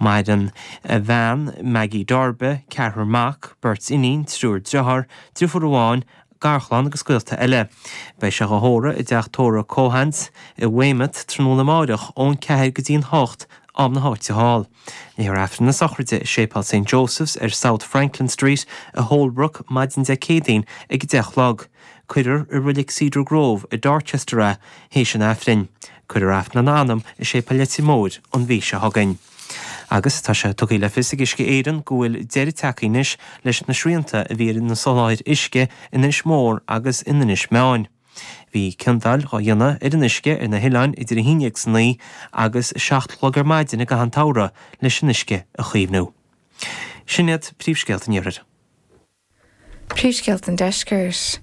Maireann a bhean, Maggie Darby, ceathrar mac, beirt iníon, triúr driotháir, driofúr amháin, garchlann agus gaolta eile. Beidh sé dhá thórramh i dteach tórraimh Keohane's i Weymouth tráthnóna amáireach ón 4 go dtí an 8, am na háite thall. Léifear Aifreann na sochraide i Séipéal St Joseph's ar South Franklin Street i Holbrook maidin Dé Céadaoin ag 10 a chlog. Cuirfear i Reilig Cedar Grove i Dorchester é théis an Aifrinn. Cuirfear Aifreann lena anam i Séipéal Leitir Móir an mhí seo chugainn. Agus tá sé tugtha le fios ag Uisce Éireann go bhfuil deireadh tagtha anois leis na srianta a bhí ar an soláthar uisce in Inis Mór agus in Inis Meáin. Bhí ciondáil dhá dhéanamh ar an uisce ar na hoileáin idir 11 is 9 agus 7 a chlog ar maidin i gcaitheamh an tsamhraidh leis an uisce a chaomhnú. Sin iad príomhscéalta an Iarthair. Príomhscéalta an Deiscirt.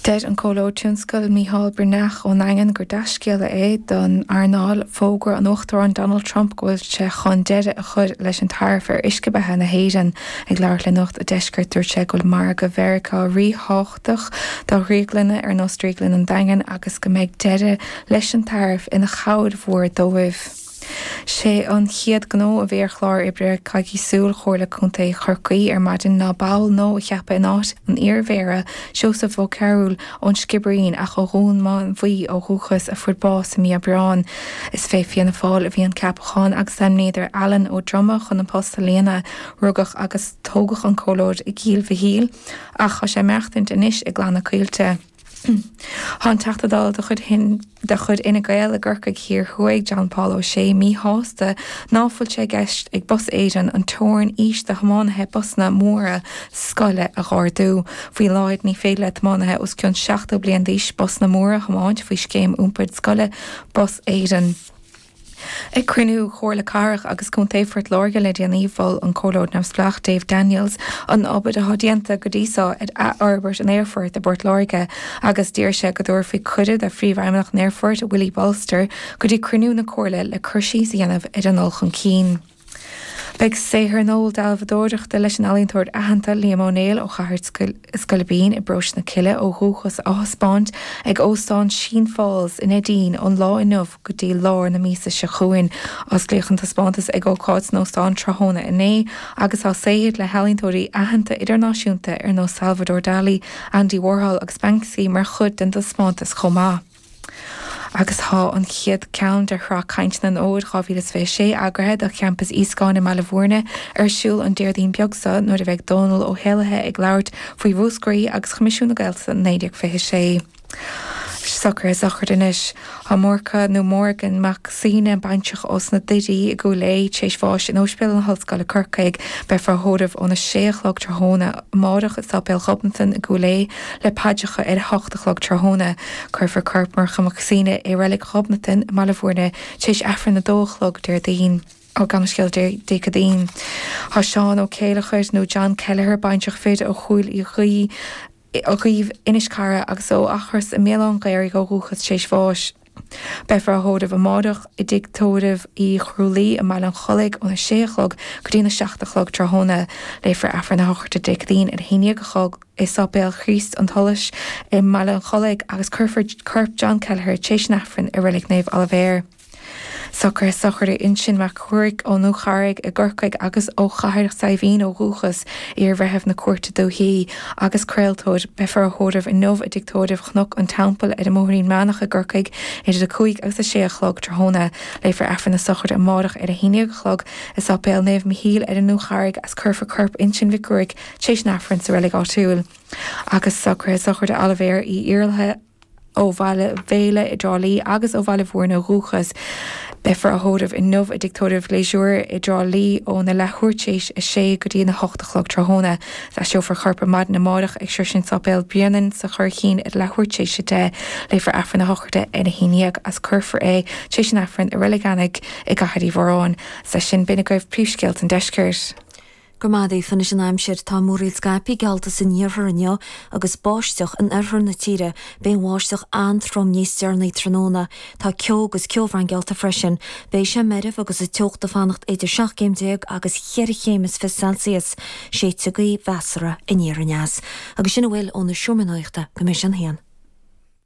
Deir an Comhairleoir Tionscail Mícheál Breathnach ón nDaingean gur dea-scéala é don earnáil fógra an Uachtaráin Donald Trump go bhfuil sé chun deireadh a chur leis an taraif ar uisce beatha na hÉireann. Ag labhairt le Nuacht an Deiscirt dúirt sé go bhfuil margadh Mheiriceá ríthábhachtach do dhrioglanna ar nós Drioglann an Daingin agus go mbeidh deireadh leis an taraif ina chabhair mhór dóibh. Sé an chéad ghnó a bhí ar chlár oibre coicísiúil Chomhairle Contae Chorcaí ar maidin ná ball nua a cheapadh in áit an iar-mhéara Seosamh Ó Cearúil ón Sciobairín ach ó Dhún Mánmhaí ó dhúchas a fuair bás i mí Aibreáin. Is fé Fianna Fáil a bhí an ceapachán agus ainmníodar Alan Ó Droma chun an post a líonadh. Rugadh agus tógadh an Comhairleoir i gCill Mhichíl ach tá sé ag maireachtaint anois i gClanna Caoilte. Tá an Teachta Dála de chuid de chuid Fhine Gael i gCorcaigh Thiar Thuaidh, John Paul O'Shea, míshásta ná fuil sé i gceist ag Bus Éireann an teorainn aois do thiománaithe busanna móra scoile a dh'ardú. Faoi láthair ní féidir le tiománaithe os cionn 70 bliain d'aois busanna móra a thiomáint faoi scéim iompair scoile Bus Éireann. Ag cruinniú Chomhairle Cathrach agus Contae Phort Láirge le déanaí, mhol an Comhairleoir Neamhspleách Dave Daniels an obair atá déanta go dtí so ar athfhorbairt an aerfoirt i bPort Láirge agus d'iarr sé go dtabharfaí cuireadh do Phríomhfheidhmeannach an aerfoirt, Willie Bolster, go dtí cruinniú na Comhairle le cur síos a dhéanamh ar an ndul chun cinn. Beidh saothar nua dealbhadóireachta leis an ealaíontóir aitheanta Liam Ó Néill ó Chathair Scoilbín i bparóiste na Cille ó dhúchas á thaispeáint ag Óstán Sheen Falls i Neidín ón lá inniu go dtí lár na míosa seo chugainn. Osclaíodh an taispeántas ag ócáid san óstán tráthnóna inné agus tá saothair le healaíontóirí aitheanta idirnáisiúnta ar nós Salvador Dali, Andy Warhol agus Banksy mar chuid den taispeántas chomh maith. Agus tá an chéad ceann de shraith Cainteanna an Fhómhair 2026 eagraithe do Champas Íoscáin i mBaile Bhúirne ar siúl an Déardaoin beag seo nuair a bheidh Dónal Ó hÉallaithe ag labhairt faoi Mhúscraí agus Choimisiún na Gaeltachta 1926. Socruithe sochraide anois. Tá Murchadh nó Morgan Mac Suibhne, baintreach ós na Doirí i gCúil Aodha, tar éis bháis in Ospidéal na hOllscoile Corcaigh. Beifear á thórramh óna sé a chlog tráthnóna amárach i Sáipéal Ghobnatan i gCúil Aodha le paidreacha ar a hocht a chlog tráthnóna. Cuirfear corp Murchadh Mac Suibhne i Reilig Ghobnatan i mBaile Bhúirne tar éis Aifreann a dó a chlog Déardaoin. Ó gabh mo leithscéal Dé Céadaoin. Tá Seán Ó Céileachair nó John Kelleher, baintreach fir ó Chúil Uí Dhuibh, Inis Cara agus ó Eachros i mBéal Átha an Ghaorthaidh ó dhúchas tar éis bháis. Beifear á thórramh amárach i dTigh Tórraimh Uí Chrualaoi i mBaile an Chollaigh óna sé a chlog go dtína seacht a chlog tráthnóna. Léifear Aifreann na sochraide Dé Céadaoin ar a haon dhéag a chlog i Sáipéal Chríost an tSolais i mBaile an Chollaigh agus cuirfear corp John Kelleher tar éis an Aifrinn i Reilig Naomh Oilibhéar. Socruithe sochraide Uinseann Mac Ruairc ón Dúcharraig i gCorcaigh agus ó Chathair Saidhbhín ó dhúchas, iar-bhreitheamh na Cúirte Dúichí agus craoltóir. Beifear á thórramh inniu i dTigh Tórraimh Chnoc an Teampaill ar an mBóithrín Meánach i gCorcaigh idir 5 agus 6 a chlog tráthnóna. Léifear Aifreann na sochraide amárach ar 11 a chlog i Sáipéal Naomh Michíl ar an nDúcharraig agus cuirfear corp Uinseann Mhic Ruairc tar éis an Aifrinn sa reilig áitiúil. Agus socruithe sochraide Oilibhéir Uí Iarlaithe. ó Bhaile Bhéile i dTrá Lí agus ó Bhaile Bhúirne ó dhúchas. Beifear á thórramh inniu i dTigh Tórraimh Phléisiúir i dTrá Lí óna leathuair tar éis a sé go dtí a hocht a chlog tráthnóna. Aistreofar a chorp ar maidin amárach ag Sroisint Sáipéal Bhréanainn sa Churraichín ar leathuair tar éis a 10. Léifear Aifreann na sochraide ar a haon dhéag agus cuirfear é tar éis an Aifrinn i Reilig Eanaigh i gCathair Uí Mhóráin. Is leis sin b'in agaibh príomhscéalta an deiscirt. Go raibh maith agat, Aoife. Anois an aimsir. Tá múraíl scaipthe geallta san iarthar inniu agus báisteach in oirthear na tíre. Beidh an bháisteach an-trom níos deireanaí tráthnóna. Tá ceo agus ceobhrán geallta freisin. Beidh sé meirbh agus an teocht ag fanacht idir 17 céim agus cheithre chéim is fiche Celsius. Séidfidh gaoth mheasartha aniar aneas. Agus sin a bhfuil ón seomra nuachta go mbeidh sé an haon.